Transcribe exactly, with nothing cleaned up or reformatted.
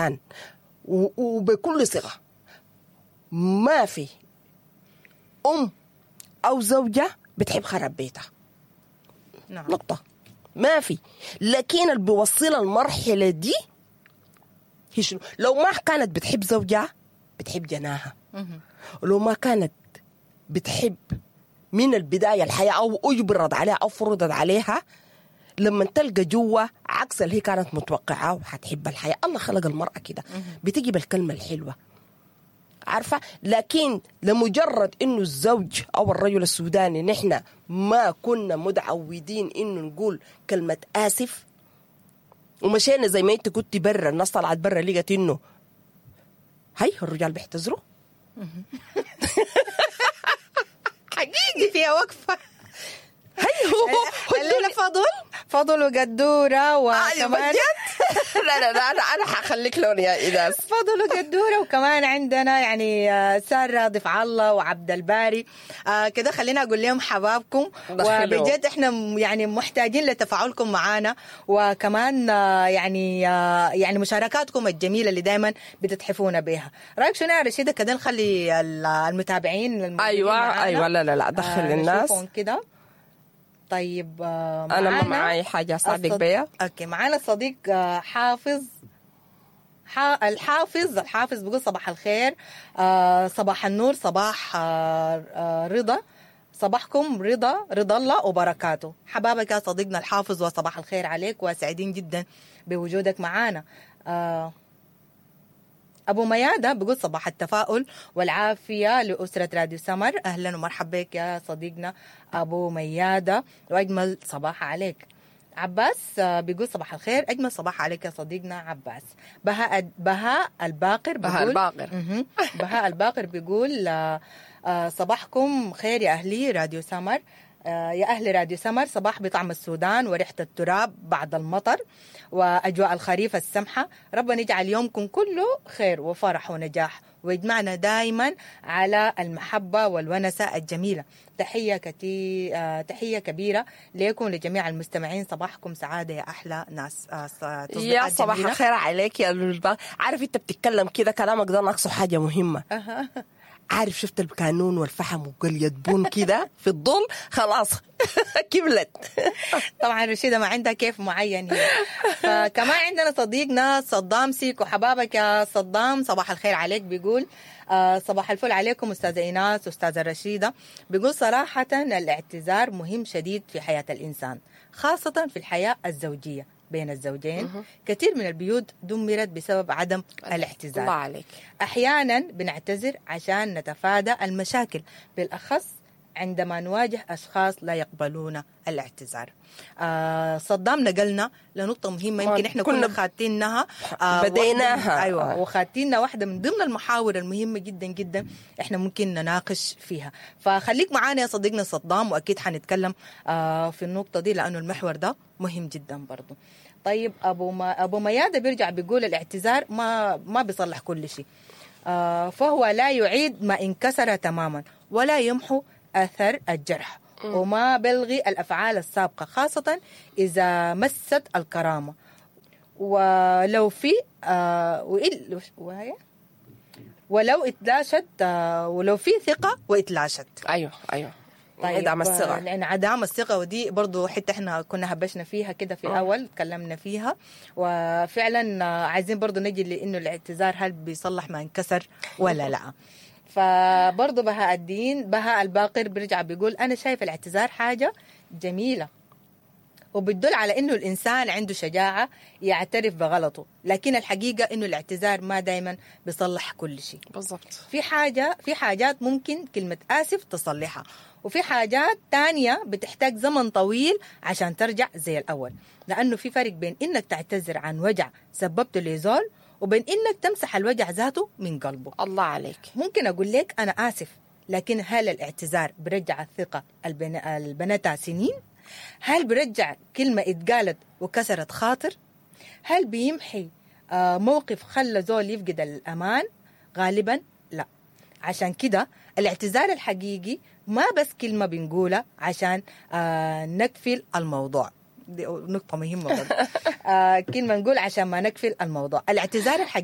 و- وبكل ثقة ما في أم أو زوجة بتحب خراب بيتها. نعم. نقطة ما في. لكن اللي بيوصلها المرحلة دي هي شنو؟ لو ما كانت بتحب زوجها بتحب جناها، ولو ما كانت بتحب من البداية الحياة أو أجبرت عليها أو فرضت عليها، لما تلقى جوا عكس اللي هي كانت متوقعاه وحتحب الحياة. الله خلق المرأة كده، بتجي بالكلمة الحلوة، عارفة؟ لكن لمجرد انه الزوج او الرجل السوداني نحن ما كنا متعودين انه نقول كلمة اسف، ومشينا زي ما انت كنت برا، الناس طلعت برا لقت انه هاي الرجال بيعتذروا حقيقي فيها وقفه. هي هو هو الليلة فضل فضل وقدوره وكمان لا لا لا انا انا حخليك لون يا ايناس. فضل وقدوره، وكمان عندنا يعني آه، ساره ضيف الله وعبد الباري. آه كده خلينا اقول لهم حبابكم، دخلوا. وبجد احنا م- يعني محتاجين لتفاعلكم معانا، وكمان آه يعني آه يعني مشاركاتكم الجميلة اللي دائما بتتحفونا بها. رايك شنو يا رشيده؟ كده نخلي ال- المتابعين الموجودين ايوه معانا، ايوه لا لا لا دخل آه، الناس. نشوفهم كده. طيب آه، انا ما معانا معي حاجة اساعدك الصد- بيها. okay، معانا الصديق آه، حافظ ح- الحافظ الحافظ بيقول صباح الخير، آه، صباح النور، صباح آه، آه، رضا، صباحكم رضا رضا الله وبركاته. حبابك يا صديقنا الحافظ، وصباح الخير عليك، وسعيدين جدا بوجودك معانا. آه، أبو ميادة بيقول صباح التفاؤل والعافية لأسرة راديو سمر. أهلا ومرحبا بك يا صديقنا أبو ميادة، وأجمل صباح عليك. عباس آه، بيقول صباح الخير، أجمل صباح عليك يا صديقنا عباس. بهاء بهاء الباقر بهاء بيقول الباقر. مهم. بهاء الباقر بيقول آه، آه، صباحكم خير يا أهلي راديو سمر، آه، يا أهل راديو سمر، صباح بطعم السودان وريحة التراب بعد المطر وأجواء الخريف السمحة. ربنا يجعل يومكم كله خير وفرح ونجاح، ويجمعنا دائما على المحبة والونسة الجميلة. تحية كتير، تحية كبيرة لكم لجميع المستمعين. صباحكم سعادة يا أحلى ناس. آه، ص- يا تصديقات صباح جميلة. الخير عليك يا البا. عارف انت بتتكلم كده كلامك ده ناقصه حاجة مهمة. عارف شفت الكانون والفحم وقلية بون كده في الظل، خلاص كملت. طبعا رشيدة ما عندها كيف معين هي. فكمان عندنا صديقنا صدام سيكو، حبابك يا صدام، صباح الخير عليك. بيقول آه صباح الفل عليكم أستاذة إيناس أستاذة رشيدة. بيقول صراحة الاعتذار مهم شديد في حياة الإنسان، خاصة في الحياة الزوجية بين الزوجين. كثير من البيوت دمرت بسبب عدم الاعتذار. الله عليك. أحيانا بنعتذر عشان نتفادى المشاكل، بالأخص عندما نواجه أشخاص لا يقبلون الاعتذار. آه صدام نقلنا لنقطة مهمة يمكن إحنا كنا, كنا كنا خاتينها آه بديناها. واحدة من- أيوة آه. وخاتينها واحدة من ضمن المحاور المهمة جدا جدا إحنا ممكن نناقش فيها. فخليك معانا يا صديقنا صدام، وأكيد حنتكلم آه في النقطة دي لأنه المحور ده مهم جدا برضو. طيب أبو ما أبو ميادة بيرجع بيقول الاعتذار ما ما بيصلح كل شيء، آه، فهو لا يعيد ما انكسر تماما، ولا يمحو أثر الجرح، وما بلغي الأفعال السابقة، خاصة إذا مست الكرامة. ولو في آه وإل وهي ولو اتلاشت آه ولو في ثقة واتلاشت. ايوه ايوه طيب انعدام الثقة. آه، انعدام الثقة، ودي برضو حتة احنا كنا هبشنا فيها كده في الأول، تكلمنا فيها، وفعلا آه، عايزين برضو نجي لأنه الاعتذار هل بيصلح ما انكسر ولا لا. فبرضو بهاء الدين بهاء الباقر بيرجع بيقول أنا شايف الاعتذار حاجة جميلة، وبتدل على انه الانسان عنده شجاعة يعترف بغلطه، لكن الحقيقة انه الاعتذار ما دايما بيصلح كل شيء. بالضبط. في حاجة في حاجات ممكن كلمة آسف تصلحها، وفي حاجات تانية بتحتاج زمن طويل عشان ترجع زي الأول، لأنه في فرق بين إنك تعتذر عن وجع سببته لزول، وبين إنك تمسح الوجع ذاته من قلبه. الله عليك. ممكن أقول لك أنا آسف، لكن هل الاعتذار برجع الثقة البن... البنتها سنين؟ هل برجع كلمة اتقالت وكسرت خاطر؟ هل بيمحي آه، موقف خلى زول يفقد الأمان؟ غالبا لا. عشان كده الاعتذار الحقيقي ما بس كلمة بنقولها عشان آه، نكفل الموضوع. دي نقطة مهمة برضه. آه كلمة نقول عشان ما نقفل الموضوع، الاعتذار الحقيقي.